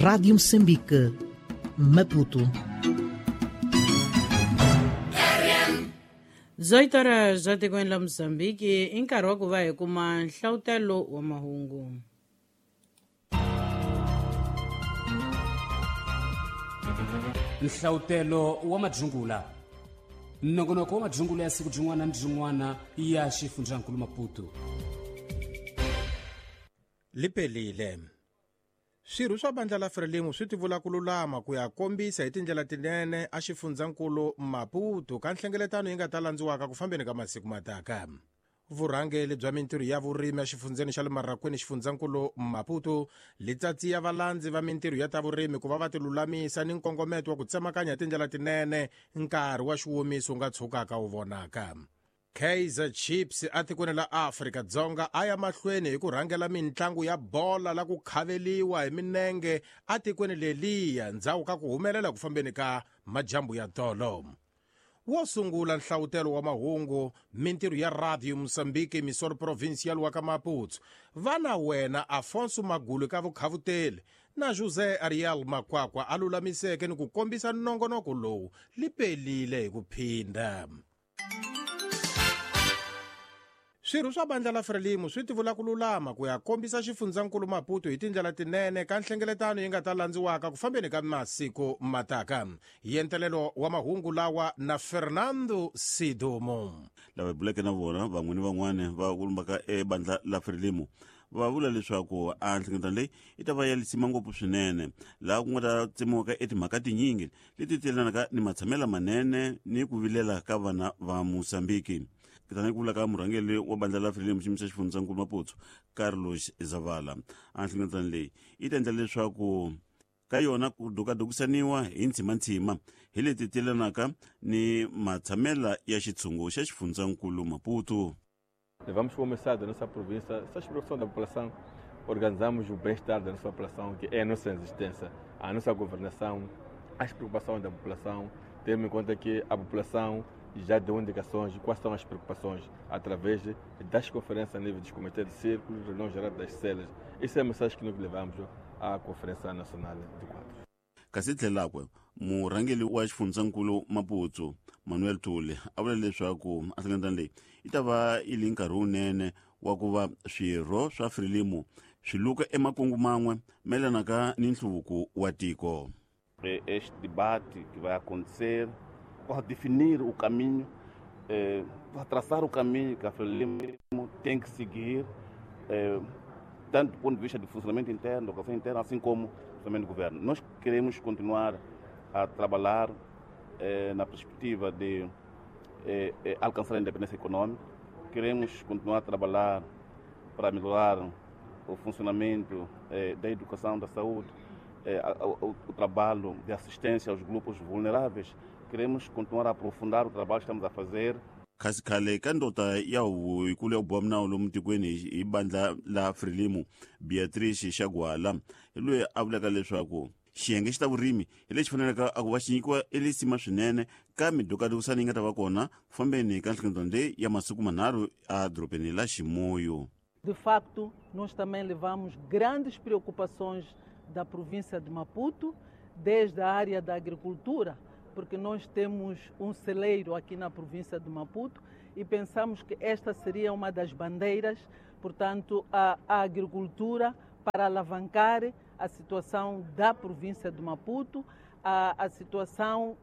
Rádio Moçambique, Maputo. 18 horas za tikweni la Mozambique i nkarhi wa ku va hi kuma nhlawutelo wa mahungu. Nhlawutelo wa madzungula, nongonoko wa madzungula ya siku byin'wana ni byin'wana ya xifundzankulu Maputo. Lipelile swirho swa bandla la Frelimo swi tivula ku lulama ku ya kombisa hi tindlela tinene a xifundzankulu Maputo ka nhlengeletano yi nga ta landziwaka ku fambeni ka masiku mataka. Vurhangeli bya mintirho ya vurimi exifundzeni xa le Marrakwini xifundzankulu Maputo litsatsi ya valandzi va mintirho ya ta vurimi ku va va tilulamisa ni nkongometo wa ku tsemakanya hi tindlela tinene nkarhi wa xiwomiso wu nga tshukaka wu vonaka. Kaizer Chiefs atikweni la Afrika-Dzonga a ya mahlweni hi ku rhangela mintlangu ya bola la ku khaveliwa hi minenge atikweni leliya ndzhaku ka ku humelela ku fambeni ka majambu ya tolo. Wo sungula nhlawutelo wa mahungu mintirho ya Radio Mozambique emissora provincial wa ka Maputo va na wena Afonso Magulu ka vukhavuteli na José Ariel Makwakwa a lulamiseke ni ku kombisa nongonoko lowu lipelile hi ku phinda. Swirho swa bandla la Frelimo swi tivula ku lulama ku ya kombisa xifundzankulu Maputo hi tindlela tinene ka nhlengeletano yi nga ta landziwaka ku fambeni ka masiku mataka. Yentelelo wa mahungu lawa na Fernando Sidumo. Lava hi buleke na vona van'we ni van'wana va kulumbaka ebandla la Frelimo va vula leswaku a nhlengeletano leyi yi ta va ya lisima ngopfu swinene, laha ku nga ta tsemiwaka etimhaka tinyingi leti telanaka ni matshamelo manene ni ku vilela ka vana va Mozambique. Tanihi ku vula ka murhangeri wa bandla la Frelimo xiyimo xa xifundzankulu Maputo Carlos Zavala, a nhlengeletano leyi yi ta endla leswaku ka yona ku dukadukisaniwa hi ntshimantshima hi leti telanaka ni matshamela ya xitshungu xa xifundzankulu Maputo. Vamos começar da nossa província, essa preocupação da população, organizamos o bem-estar da nossa população, que é a nossa existência, a nossa governação, as preocupações da população. Temos em conta que a população já deu indicações de quais são as preocupações através das conferências a nível dos comitês de círculos, reunião geral das celas. Isso é a mensagem que nós levamos à Conferência Nacional de Quadros. Kasi tlhelakwe murhangeri wa xifundzankulu Maputo Manuel Tuli a vula leswaku a nhlengeletano leyi yi ta va yi li nkarhi wunene wa ku va swirho swa Frelimo swi luka emakungu man'we mayelanaka ni nhluvuko wa tiko. Este debate que vai acontecer para definir o caminho, para traçar o caminho que a Frelimo tem que seguir, tanto do ponto de vista de funcionamento interno, da organização interna, assim como funcionamento do governo. Nós queremos continuar a trabalhar na perspectiva de alcançar a independência econômica, queremos continuar a trabalhar para melhorar o funcionamento da educação, da saúde, o trabalho de assistência aos grupos vulneráveis. Queremos continuar a aprofundar o trabalho que estamos a fazer. Kasi khale ka ndota ya huvo yikulu ya ku boha minawu lomu tikweni hi bandla la Frelimo Beatrice Xagwala hi loyi a vulaka leswaku xiyenge xi ta vurimi hi lexi faneleke a ku va xi nyikiwa elisima swinene ka midukadukisano yi nga ta va kona ku fambeni ka nhlengeletano leyi ya masiku manharhu edorobeni la Chimoio. De facto, nós também levamos grandes preocupações da província de Maputo, desde a área da agricultura, porque nós temos um celeiro aqui na província de Maputo e pensamos que esta seria uma das bandeiras, portanto, a agricultura para alavancar a situação da província de Maputo, a situação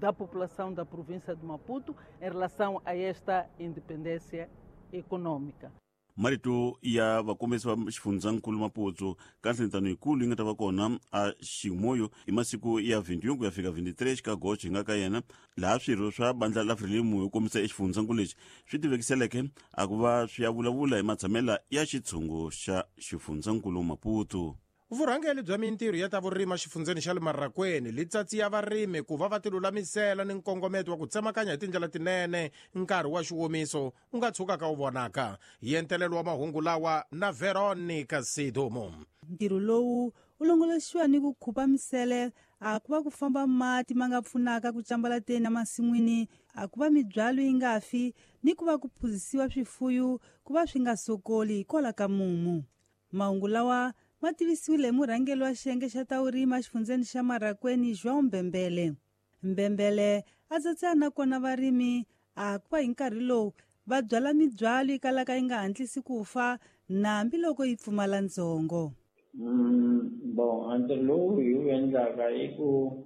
da população da província de Maputo em relação a esta independência econômica. Marito ya vakombisi va xifundzankulu Maputo ka nhlengeletano yikulu yi nga ta va kona a Chimoio hi masiku ya 21 ku ya fika 23 ka Agosto hi nga ka yena, laha swirho swa bandla la Frelimo yo kombisa exifundzankulu lexi swi tivekiseleke a ku va swi ya vulavula hi matshamela ya xitshungu xa xifundzankulu Maputo. Vurhangeri bya mintirho ya ta vurimi exifundzeni xa le Marrakwini litsatsi ya varimi ku va va tilulamisela ni nkongometo wa ku tsemakanya hi tindlela tinene nkarhi wa xiwomiso wu nga tshukaka wu vonaka. Yentelelo wa mahungu lawa na Veronica Sidumo. Ntirho lowu wu longoloxiwa ni ku khupa misele, a ku va ku famba mati ma nga pfunaka ku cambalateni emasin'wini, a ku va mibyalo yi nga fi ni ku va ku phuzisiwa swifuyo ku va swi nga sokoli hikwalaho ka mumu. Mahungu lawa Ma tivisiwile hi murhangeri wa xiyenge xa ta vurimi exifundzeni xa Marracuene, João Mbembele. Mbembele a tsatsana na kona varimi a ku va hi nkarhi lowu va byala mibyalo yi kalaka yi nga hatlisi ku fa na hambiloko yi pfumala ndzhongo. Bon, a ntirho lowu hi wu endlaka i ku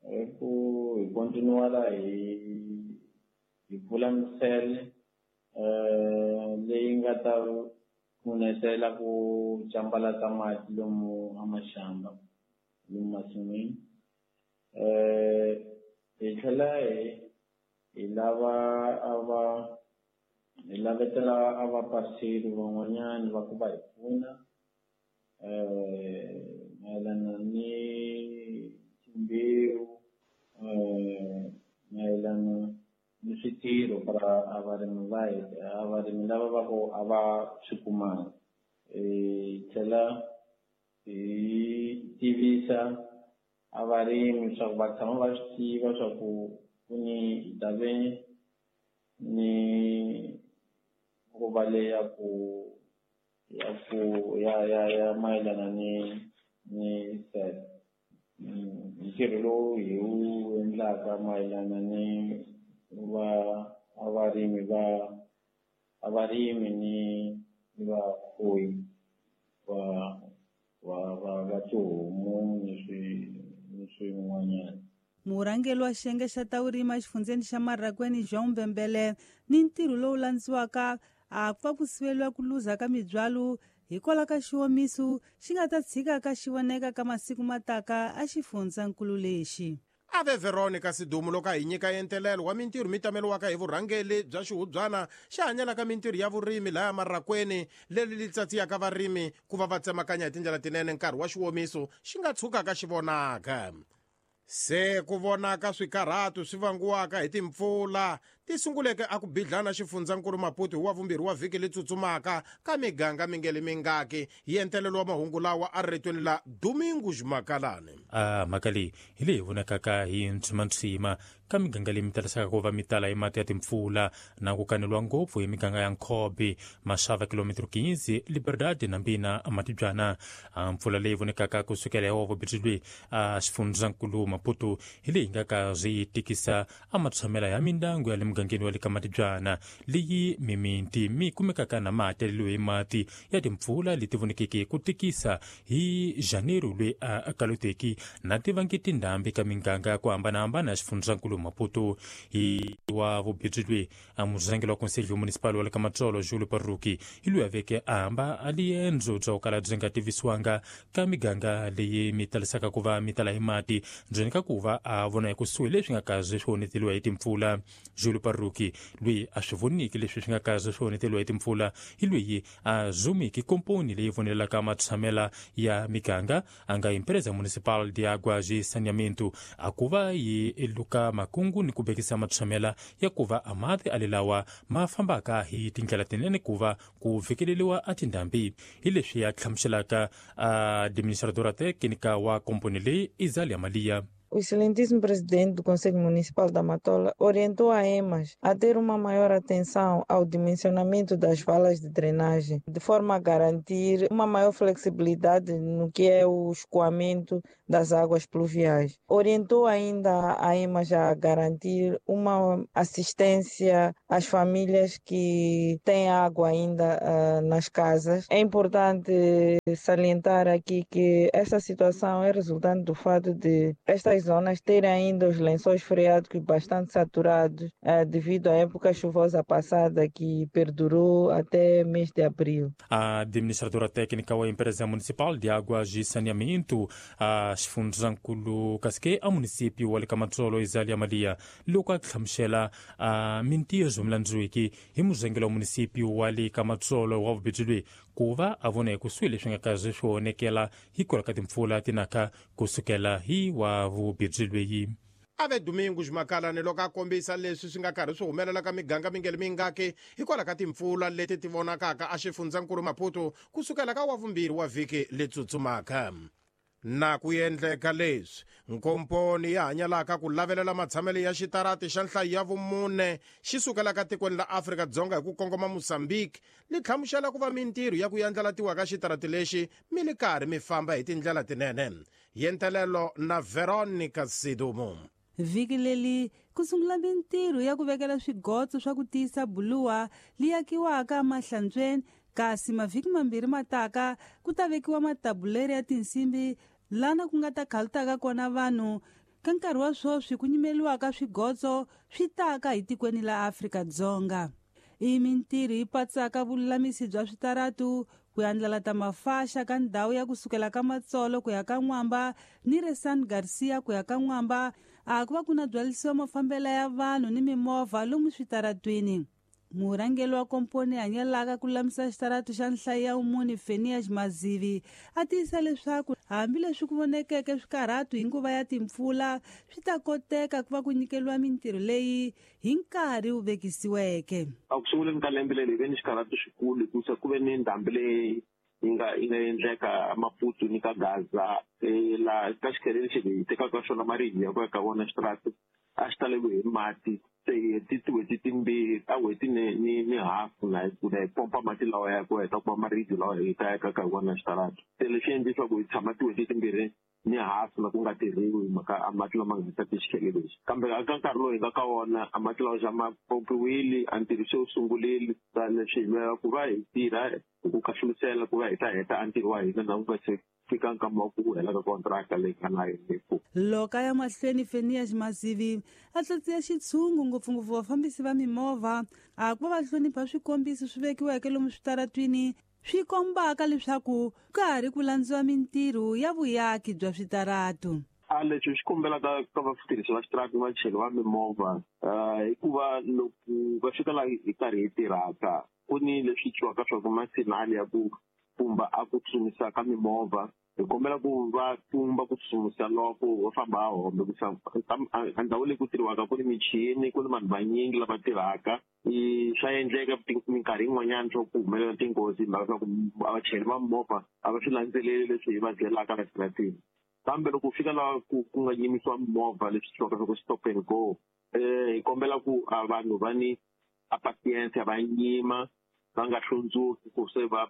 hi continuala hi pfula misele leyi nga ta pfunetela ku cambalata mati lomu amaxamba, lomu masin'wini. Hi tlhela hi lava a va hi lavetela a va parceri van'wanyana va ku va hi pfuna mayelana ni timbewu, mayelana ni switirho para a varimi va a varimi lava va ku a va swi kumanga. Hi tlhela hi tivisa a varimi swa ku va tshama va swi tiva swa ku ku ni hi ta ve ni nguva leyi ya ku ya mayelana ni set ntirho lowu hi wu endlaka mayelana ni va a varimi va a varimi ni vafuwi va tihomu ni swin'wanyana. Murhangeri wa xiyenge xa ta vurimi exifundzeni xa Marracuene, João Mbembele, ni ntirho lowu landziwaka a ku va ku siveliwa ku luza ka mibyalo hikwalaho ka xiwomiso xi nga ta tshika ka xi voneka ka masiku mataka a xifundzankulu lexi. Ave Veronica Sidumo loko a hi nyika entelelo wa mintirho mi tameliwaka hi vurhangeli bya xihubyana xi hanyelaka mintirho ya vurimi laya Marracuene, leri li tsatsiyaka varimi ku va va tsemakanya hi tindlela tinene nkarhi wa xiwomiso xi nga tshukaka xi vonaka. Se ku vonaka swikarhatu swi vangiwaka hi timpfula ti sunguleke a ku bidlana xifundzankulu Maputo hi wa vumbirhi wa vhiki li tsutsumaka ka miganga mingeli mingaki. Hi entelelo wa mahungu lawa a ritweni la Domingos Makalane. A mhaka leyi hi leyi vonakaka hi ntshimantshima ka miganga leyi mi talisaka ku va mi tala hi mati ya timpfula na ku kaneliwa ngopfu hi miganga ya Nkhobe, Maxava, Kilometro 15, Liberdade na Mbina Matibyana. A mpfula leyi vonekaka kusukela hi wa vumbirhi a xifundzankulu Maputo hi leyi nga ka swi tikisa a matshamela ya mindyangu ya le mugangeni wa le ka Matibyana, leyi mimiti mi kumekaka na mati yaleliwe hi mati ya timpfula leti vonekeke ku tikisa hi Janeiro loyi a kaloteki na tivangi tindhambi ka miganga ya ku hambanahambana ya xifundzankulu Maputo. Hi wa vumbirhi loyi a murhangeri wa Conselho Municipal wa le ka Matsolo, Julio Parruki, hi loyi a veke a hamba a liendzo bya ku kala byi nga tivisiwanga ka miganga leyi mi talisaka ku va mi tala hi mati, ndzeni ka ku va a vona ekusuhi leswi nga kaze swi onheteliwa hi timpfula. Julio Parruki loyi a swi voniki leswi swi nga kaze swi onheteliwa hi timpfula hi loyi a zumiki komponi leyi vonelaka matshamela ya miganga a nga Empresa Municipal de Águas e Saneamento, a ku va yi luka makungu ni ku bekisa matshamela ya ku va a mati alelawa ma fambaka hi tindlela tinene ku va ku fikeleliwa a tindhambi. Hi leswi ya hlamuselaka a administradora técnica wa komponi leyi, Izalia Malia. O excelentíssimo presidente do Conselho Municipal da Matola orientou a EMAS a ter uma maior atenção ao dimensionamento das valas de drenagem, de forma a garantir uma maior flexibilidade no que é o escoamento das águas pluviais. Orientou ainda a EMAS a garantir uma assistência às famílias que têm água ainda nas casas. É importante salientar aqui que esta situação é resultante do fato de estas zonas terem ainda os lençóis freáticos bastante saturados devido à época chuvosa passada que perdurou até mês de abril. A administradora técnica wa Empresa Municipal de Águas e Saneamento a xifundzankulu kasike a município wa le ka Matsolo, Izalia Malia, loko a hlamusela a mintirho milandziwiki hi murhangeri wa município wa le ka Matsolo wa vubedzi loyi ku va a vona ekusuhi leswi nga kaze swi onekela hikwalaho ka timpfula tinaka kusukela hi wa vubedzi loyi. Ave Domingos Makalane loko a kombisa leswi swi nga karhi swi humelela ka miganga mingeli mingaki hikwalaho ka timpfula leti ti vonakaka a xifundzankulu Maputo kusukela ka wa vumbirhi wa vhiki letsutsumaka. Na ku endleka leswi, nkomponi ya hanyalaka ku lavelela matshamelo ya xitarati xa nhlayo ya vumune xi sukelaka tikweni la Afrika-Dzonga hi ku kongoma Mozambique li hlamusela ku va mintirho ya ku yandlalatiwa ka xitarati lexi mi li karhi mi famba hi tindlela tinene. Yentelelo na Veronica Sidumo. Vhiki leri ku sungula mintirho ya ku vekela swigotso swa ku tiyisa buluwa li akiwaka emahlantsweni, kasi mavhiki mambirhi mataka ku ta vekiwa matabuleri ya tinsimbi lana ku nga ta khalutaka kona vanhu. Ka nkarhi wa sweswi ku nyimeliwaka swigotso swi taka hi tikweni la Afrika-Dzonga. I mintirho yi patsaka vululamisi bya switaratu, ku andlala mafaxa ka ndhawu ya kusukela ka Matsolo ku ya ka N'wamba ni re San Garcia ku ya ka N'wamba, a ku va ku na byalisiwa mafambelo ya vanhu ni mimovha lomu switaratwini. Murhangeri wa komponi hanyelaka ku lulamisa xitaratu xa nhlayo ya vumune Fenias Mazivi a tiyisa leswaku hambileswi ku vonekeke swikarhatu hi nguva ya timpfula, swi ta koteka ku va ku nyikeriwa mintirho leyi hi nkarhi wu vekisiweke. A ku sunguleni ka lembe leri hi ve ni xikarhatu xikulu hikusa ku ve ni ndhambi leyi yi nga endleka Maputo ni ka Gaza, laha ka xikhele lexi hi tekaka xona maribye ya ku ya ka vona xitaratu a xi taleriwe hi mati. Se hi heti tin'hweti timbirhi ta n'hweti ni hafu na hi pompa mati lawa ya ku heta ku va maribye lawa hi ta yakaka hi wona xitaratu. Se leswi endle leswaku hi tshama tin'hweti timbirhi ni hafu na ku nga tirhiwi hi mhaka a mati lama nga ta xikhele lexi. Kambe eka nkarhi lowu hi nga ka wona a mati lawa xa ma pompiwile, a ntirho se wu sungurile. Leswi hi lwela ku va hi tirha hi ku khahlulisela ku va hi ta heta a ntirho wa hina na ku nga se fika nkama wa ku hela ka kontraka leyi nga na yona. Loko a ya mahlweni Fenias Mazivi a tlatsiya xitshungu ngopfungopfu vafambisi va mimovha a ku va va hlonipha swikombiso swi vekiweke lomu switaratwini swi kombaka leswaku ka ha ri ku landziwa mintirho ya vuyaki bya switaratu. A leswi swi kombelaka ka vatirhisi va xitaratu vachayeri va mimovha, hikuva loko va fika laha hi karhi hi tirhaka ku ni leswi twiwaka swa ku masinali ya ku pfumba a ku tsutsumisa ka mimovha, hi kombela ku va pfumba ku tsutsumisa loko va famba a hombe ku a ndhawu leyi ku tirhiwaka ku ni michini, ku ni vanhu vanyingi lava tirhaka. Swa endleka minkarhi yin'wanyana swa ku humelela tinghozi hi mhaka swa ku vachayeri va mimovha a va swi landzeleli leswi hi va byelaka la xitaratini. Kambe loko u fika laha ku nga yimisiwa mimovha leswi twiwaka swa ku stop and go, hi kombela ku a vanhu va ni a patience, va yima va nga hlundzuki ku se va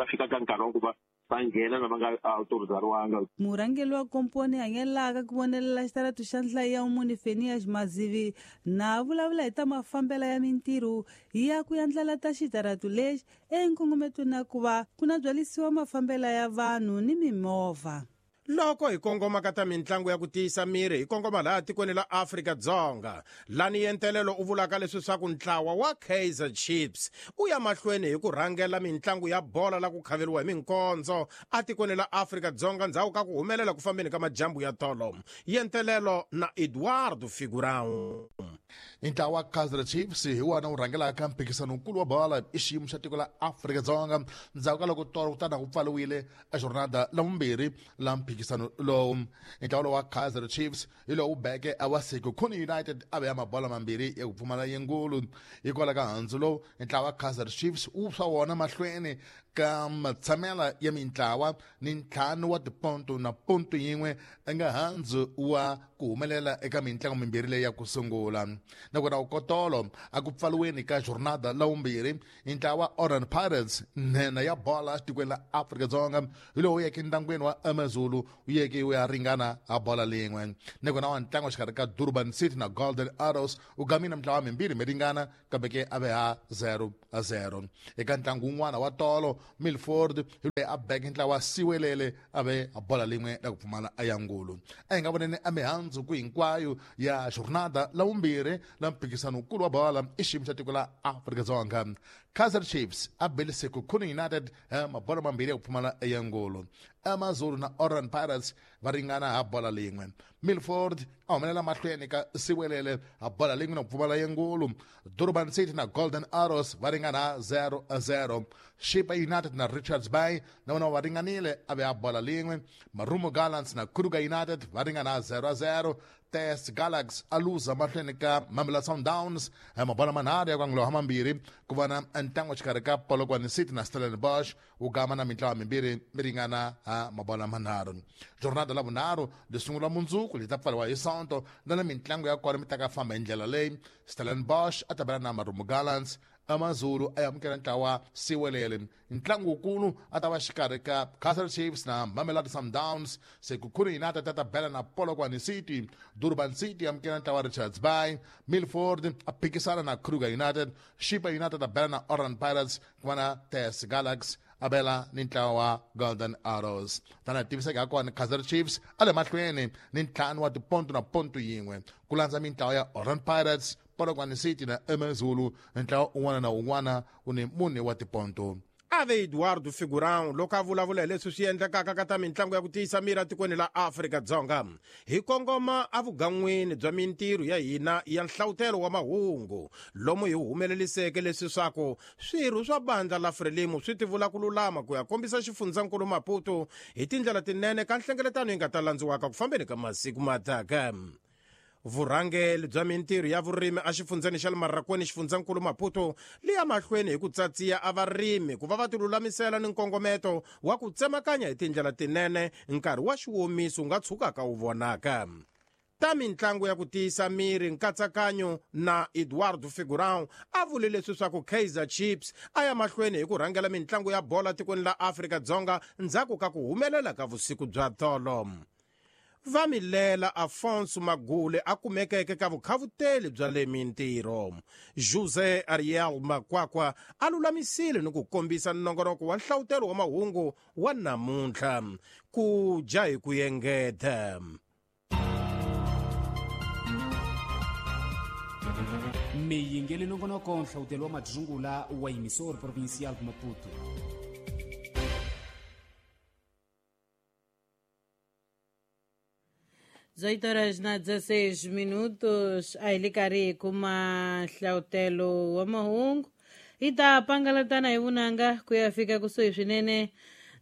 fika ka nkarhi wa ku va nghena na va nga autorizariwanga. Murhangeri wa komponi hanyelaka ku vonelela xitaratu xa nhlayo ya vumune Fenias Mazivi na vulavula hi ta mafambelo ya mintirho ya ku yandlala ta xitaratu lexi enkongometweni na ku va ku na byalisiwa mafambelo ya vanhu ni mimovha. Loko hi kongoma ka ta mintlangu ya ku tiyisa miri hi kongoma laha tikweni la Afrika-Dzonga, lani yentelelo u vulaka leswi swa ku ntlawa wa Kaizer Chiefs u ya mahlweni hi ku rhangela mintlangu ya bola la ku khaveriwa hi minkondzo a tikweni la Afrika-Dzonga ndzhaku ka ku humelela ku fambeni ka majambu ya tolo. Yentelelo na Eduardo Figurão. Ntlawa wa Kaizer Chiefs hi wona wu rhangelaka mphikizano wukulu wa bola i xiyimo xa tiko la Afrika-Dzonga ndzhaku ka loko tolo kutani ku pfariwile a jornada la vumbirhi la mphikizano lowu. Ntlawa lowu wa Kaizer Chiefs hi lowu beke a wa Sekhukhune United a veya mabola mambirhi ya ku pfumala yingulu. Hikwalaho ka handzu lowu, ntlawa wa Kaizer Chiefs wu swa wona mahlweni ka matshamela ya mintlawa ni 5 wa tiponto na ponto yin'we nga handzu wa ku humelela eka mintlangu mimbirhi leyi ya ku sungula. Nakona ukotolo a ku pfaliweni ka jornada la vumbirhi, ntlawa Orlando Pirates nhenha ya bola tikweni la Afrika-Dzonga hi lowu yeke ntlangwini wa AmaZulu wu yeke wu ya ringana ha bola lin'we. Nakona wa ntlangu exikarhi ka Durban City na Golden Arrows wu gamile mintlawa mimbirhi mi ringana kambe ke a ve ha 0-0. Eka ntlangu wun'wana wa tolo, Milford hi loyi a beke ntlawa wa Siwelele a ve ha bola lin'we la ku pfumala a ya ngulu. A hi nga voneni a mihandzu ku hinkwayo ya jornada la vumbirhi la mphikizano wukulu wa bola i xiyimo xa tiko la Afrika-Dzonga. Kaizer Chiefs a bele Sekhukhune United mabola mambirhi ya ku pfumala ya ngulu. AmaZulu na Orlando Pirates va ringana ha bola lin'we. Milford a humelela mahlweni ka Siwelele ha bola lin'we na ku pfumala ya ngulu. Durban City na Golden Arrows va ringana 0-0. Chipa United na Richards Bay na vona va ringanile a ve a bola lin'we. Marumo Gallants na Kruger United va ringana 0-0. TS Galaxy a luza mahlweni ka Mamelodi Sundowns mabola manharhu ya ku mambirhi ku va na ntlangu xikarhi ka Polokwane City na Stellenbosch wu gama na mintlawa mimbirhi mi ringana ha mabola manharhu. Jornada la vunharhu li sungula mundzuku li ta pfariwa hi Sonto na mintlangu ya kona mi ta ka famba hi ndlela leyi. Stellenbosch a ta bela na Marumo Gallants, AmaZulu a amukela ntlawa Siwelele. Ntlangu wukulu a ta va xikarhi ka Kaizer Chiefs na Mamelodi Sundowns. Sekhukhune United a ta bela na Polokwane City. Durban City amukela ntlawa Richards Bay. Milford a phikisana na Kruger United. Chipa United a bela na Orlando Pirates, ku va na TS Galaxy a bela ni ntlawa wa Golden Arrows. Tana tiviseka ha kona Kaizer Chiefs a le mahlweni ni ntlhanu wa tiponto na ponto yin'we ku landza mintlawa ya Orlando Pirates, Polokwane City na AmaZulu. Ntlawa un'wana na un'wana u ni mune wa tiponto. Ave Eduardo Figurão loko a vulavula hi leswi swi endlekaka ka ta mintlangu ya ku tiyisa miri etikweni la Afrika-Dzonga hi kongoma evugan'wini bya mintirho ya hina ya nhlavutelo wa mahungu lomu hi humeleliseke leswi swaku swirho swa bandla la Frelimo swi tivula ku lulama ku ya kombisa xifundzankulu Maputo hi tindlela tinene ka nhlengeletano yi nga ta landziwaka ku fambeni ka masiku mataka. Vurhangeli bya mintirho ya vurimi exifundzeni xa le Marrakwini xifundzankulu Maputo li ya mahlweni hi ku tsatsiya a varimi ku va va tilulamisela ni nkongometo wa ku tsemakanya hi tindlela tinene nkarhi wa xiwomiso wu nga tshukaka wu vonaka. Ta mintlangu ya ku tiyisa miri nkatsakanyo na Eduardo Figurão a vule leswi swa ku Kaizer Chiefs a ya mahlweni hi ku rhangela mintlangu ya bola tikweni la Afrika-Dzonga ndzhaku ka ku humelela ka vusiku bya tolo. Vamilela Afonso Magule a kumekeke ka vukhavuteli bya le mintirho. José Ariel Makwakwa a lulamisile ni ku kombisa nongonoko wa nhlavutelo wa mahungu wa namuntlha ku dya hi ku engeta. Miyingeli nongonoko nhlavutelo wa madzungula wa emissor provincial Maputo. 18h16 minutos a hi le karhi hi kuma nhlavutelo wa mahungu hi ta pangalatana hi vunanga ku ya fika kusuhi swinene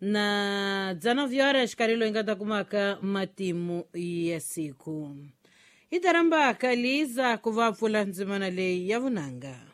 na 19 horas xikarhi loyi nga ta kumaka matimu ya siku. Hi ta rhamba Kaliza ku va pfula ndzimana leyi ya vunanga.